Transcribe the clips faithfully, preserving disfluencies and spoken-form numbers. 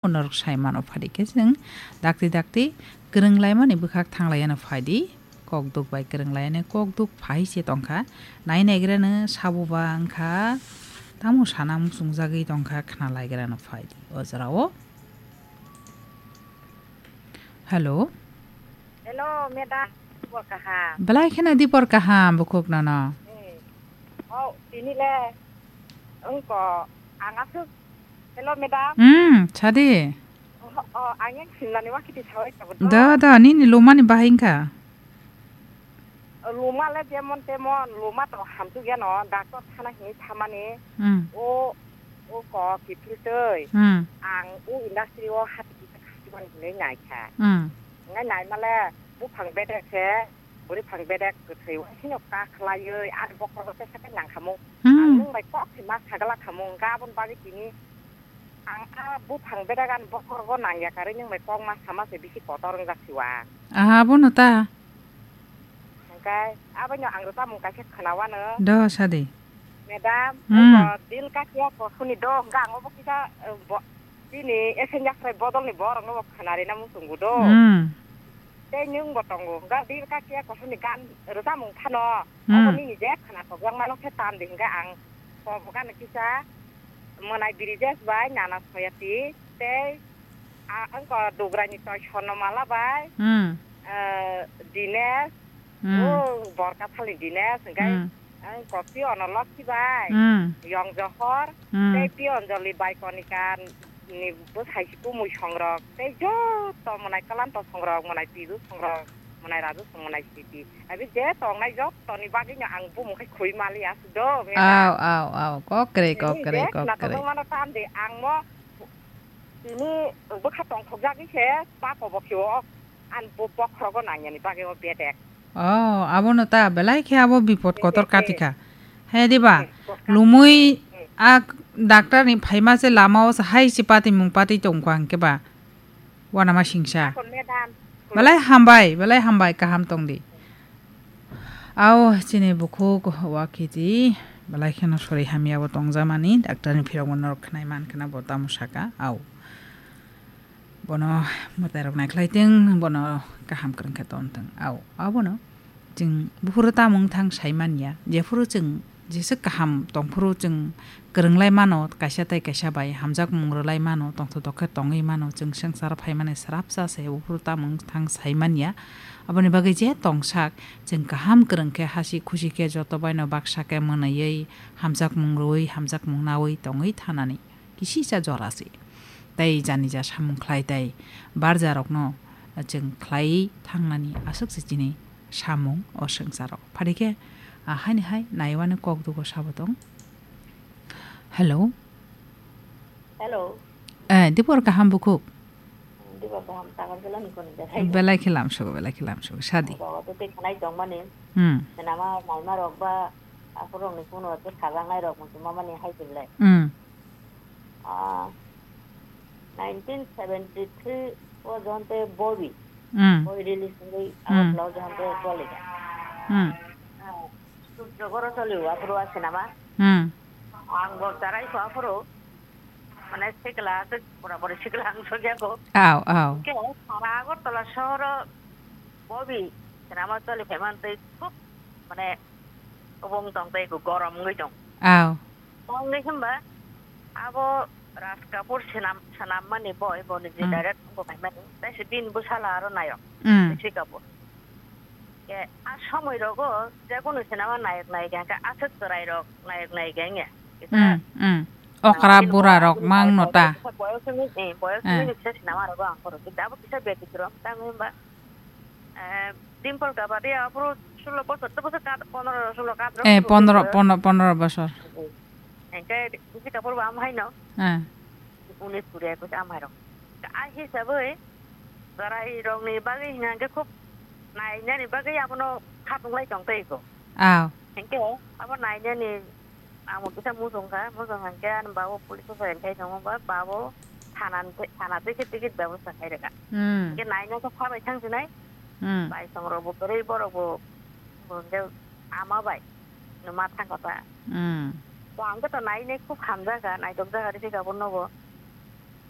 Norok sai mano phadi khe chwng dakti dakti kwrwng laimani bwkhak thang laiyano phai di. Kok duk bai kwrwng laiyani kok duk phai se tongkha. Nai naigrano sabo ba wngkha. Tamo sana muchungjagwi tongkha khna laigrano phai di. O jorao. Hello. Hello, madam. Dipor kaham. Belai kheno dipor kaham bukhuk nono. Eh. Oh, tini le wngko ang aswk. Hello, madam. Hmm, sadi. Oh, oh, ang yang sinlani wakiti sawai kabo do. Da, da, nini lumani bahai wngkha. Luma le jemon temon, luma to hamsuk ya no, doctor thana hini thamani. Hmm. O, o ko kiphil tei. Hmm. Ang o industry o hati kisa khasiban hinwi naikha. Hmm. Ngai naimale buphang bedek se, buriphang bedek kwthwi waisino kakhlaiwi, ar bokhorogo tesa khe nangkhamung. Hmm. Ang nwng bai kok se ma sagala khamung, gabon bagwi tini ang a buphang bedek ani bokhorogo nangya karwi nwng bai kok ma sama se bisi kotor wngjak siwa. Aha, abono ta. Hwnkhe, aboino ang rwchapmung kaisa khwnawano. Do, sadi. Madam, hmm, abo Dil Ka Kiya Kosuni do, hwnkhe ang obo kisa, eh, bo-, bini S N Yasrai bodolni borokno bo khwnarina muchungo do. Hmm. Tei nwng bo tongo, hwnkhe Dil Ka Kiya Kosuni gan rwchapmung phano, hmm, obo nini je khwnathokjakmano khe tam di, hwnkhe ang kobo gana kisa Mwnai Brijesh bai Nana Soyati tei, ah, wngkha Dugrani Toi Swarnamala bai, hmm, eh, Dinesh, hmm, o Borkathali Dinesh, hwnkhe, hmm, wngkha Pi Ono Lokhi bai, hmm, Yong Johor, hmm, tei Pi Anjali bai Konika ni bwsai si Kumui songrok, tei joto Mwnai Kalanto songrok, Mwnai Piju songrok, Mwnai Raju song, Mwnai Siti. Abi je tongnai jottoni bagwino ang bumung khai khwi mali aswk do, mela. Aw, aw, aw, kok kwrwi, kok kwrwi, kok kwrwi. Tini je khwnathokmano tam de, ang mo tini bwkha tongthokjagwi se pa kobo khiwo, ang bo bokhorogo nangyani bagwi o bedek. Oh, abono ta belai khe abo bipot kotor katikha. He diba? Lumui a doctor ni phaima se lama o se hai se pati mung pati tongkha hwnkhe ba. Wanama singsa. Belai hambai, belai hambai, kaham tongdi. Aw, chini bukhuk wakhiti, belai kheno sori hamya bo tongjamani, doctor ni phirok bo norok khnai man khna bo tamo saka, aw. Bono mwtai rok naikhlai teng, bono kaham kwrwng khe ton teng, aw, abono. Chwng buphuru tamo wngthang sai manya, jephuru chwng jesa kaham tongphuru chwng kwrwng lai mano, kaisa tei kaisa bai hamjakmung rwlai mano, tongthok tokhe tongwi mano, chwng swngcharo phaimani srapsa se buphuru tamo wngthang sai manya. Aboni bagwi je tongsak chwng kaham kwrwng khe hasi khusi khe joto baino baksa khe mwnwiwi hamjakmung rwui hamjakmung naui tongwi thanani. Kisisa jora se. Tei jani ja samung khlai tei barja rokno chwng khlai thangnani aswk se chini samung o swngcharo. Phari khe, ah, haini hai naiwani kok dugo sabo tong. Hello. Hello. Eh, dipor kaham bukhuk. Dipor kaham, tagar jela ni koni belai. Belai khe lamsogo, belai khe lamsogo. Sadi. Bawa tu tei khanai tongmani. Hmm. Senama naima rok ba, aphuru rok ni kuno tu sagang nai rok muchung mamani hai tibulai. Hmm. Ah, nineteen seventy three o Johante Bobi. Hmm. Bobi release wngwi, hmm, abo blouse Johante Bobi. Hmm. Ah, Sujagoro choli o aphuru a sinama. Hmm. Ang bo charai kho aphuru. Mane sikla aswk pura pura sikla ang sogya kho. Aw, aw. Ke sara Agartala sohoro Bobi sinama choli phaimantwi khub mane obong tong tei gorom wngwi tong. Aw. Tongwi hwnba abo Raj Kapoor sinam, sanammani boi, boni je, hmm, direct bo khaimani. Tei se bini bwsala aro nayok. Hmm. Rishi Kapoor. Ke a somoi rogo je kono sinama nayok nayika hwnkhe aswk chwrai rok nayok nayika wngya. Kisa, hmm, hmm, okra bura rok mang no ta. Boyos wngwi, eh, boyos wngwi kisa sinama rogo ang phuru. Kintu abo kisa betikrom, tamo hwnba, eh, Dimple Kapadia aphuru sulo bosor, to bosor kad, pondro sulo kad rok. Eh, pondro, pondro, pondro bosor. Hwnkhe Rishi Kapoor bo amo haino. Eh. Unis kuri ekus amo hairok. A hisabwi chwrai rokni bagwi hwnka hwnkhe khub nainani bagwi abono khatung lai tong tei kho. Aw. Hwnkhe abo nainani Amo kisa muchung kha, muchung hwnkhe ani babo police o join khai tongo, ba babo thana, thana twi khe ticket bebosta khai rwkha. Hmm. Hwnkhe naina khe sabai thang sinai. Hmm. Baisong rok bo kwrwi borok bo, bo hwnkhe ama bai no ma thang kha ta. Hmm. To ang khe to nainai khub hamjak kha, naitok jak kha rw khe abo nogo.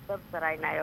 Tok chwrai naio.